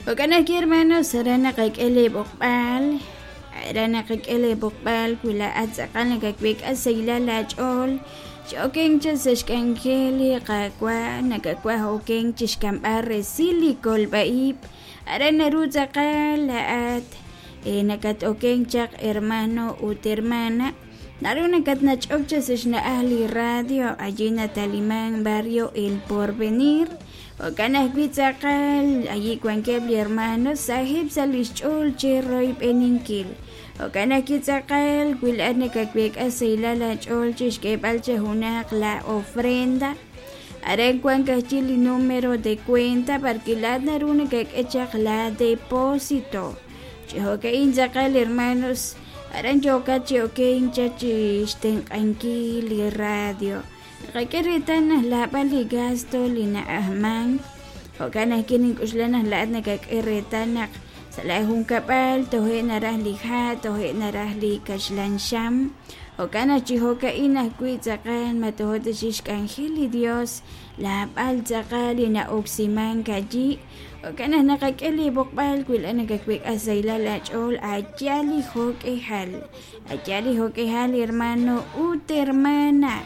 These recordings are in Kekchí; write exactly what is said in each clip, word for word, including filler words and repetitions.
Jo'kan ajwi', hermanos, aran naqak'e li b'oqb'al, aran naqak'e li b'oqb'al wi laa'at tz'aqal nakaweek'a sahilal aach'ool chi okenk chaq sa' xk'anjel li Qaawa', nakawaj okenk chi xk'amb'al resil li kolb'a-ib', aran naru tz'aqal laa'at nakat-okenk chaq hermano ut hermana, naru nakatnach'ok chaq sa' xna'aj li radio allí nataliman barrio El Porvenir. Jo'kan ajwi' tz'aqal allí wankeb' li hermanos saheb' sa' lix ch'ool chi royb'eninkil. Jo'kan ajwi' tz'aqal wi laa'at nakaweek'a sahilal aach'ool chi xk'eeb'al chi junaq la ofrenda, aran wank ajwi' li número de cuenta parque laa'at naru nakak'e chaq la depósito. Chi jo'ka'in tz'aqal hermanos, aran yookat chi okenk chaq chi xtenq'ankil li radio. Naqak'e reetal naq laab'al li gasto li na'ajman. Jo'kan ajwi' nink'uxla naq laa'at nakak'e reetal naq sa' la junkab'al toje' naraj li ha', toje' naraj li kaxlan xam. Jo'kan naq chi jo'ka'in ajwi' tz'aqal ma tojo' ta chi xk'anjel li Dios laab'al tz'aqal li na'oksimank allí. Jo'kan naq naqak'e li b'oqb'al wi laa'at nakaweek'a sahilal aach'ool aya li jo'k'ejal, aya li jo'k'ejal hermano ut hermana.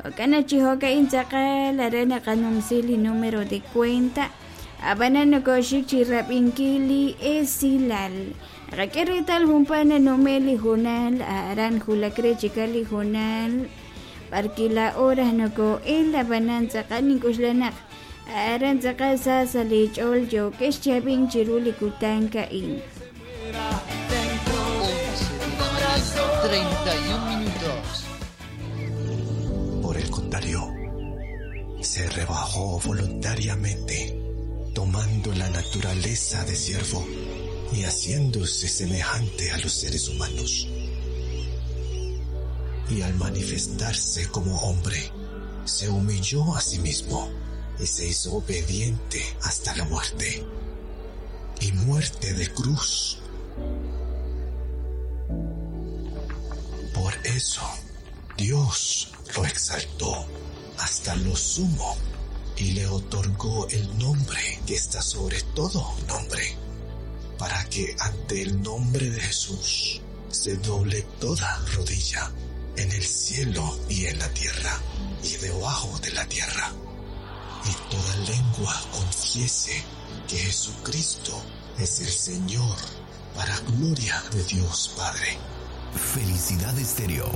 Jo'kan naq chi jo'ka'in tz'aqal aran naqanumsi li número de cuenta, ab'anan nokoxik chi rab'inkil li esilal. Naqak'e reetal junpa' nanumel li junal, aran julak re chikal li junal, parque la hora noko'el ab'anan tz'aqal nink'uxla naq aran tz'aqal sa sa' li ch'ool yookex chab'in chiru li kutan ka'in. once de la mañana, treinta y un minutos. Por el contrario, se rebajó voluntariamente, tomando la naturaleza de siervo y haciéndose semejante a los seres humanos. Y al manifestarse como hombre, se humilló a sí mismo y se hizo obediente hasta la muerte, y muerte de cruz. Por eso, Dios lo exaltó hasta lo sumo y le otorgó el nombre que está sobre todo nombre, para que ante el nombre de Jesús se doble toda rodilla en el cielo y en la tierra y debajo de la tierra, y toda lengua confiese que Jesucristo es el Señor, para gloria de Dios Padre. Felicidad Estéreo.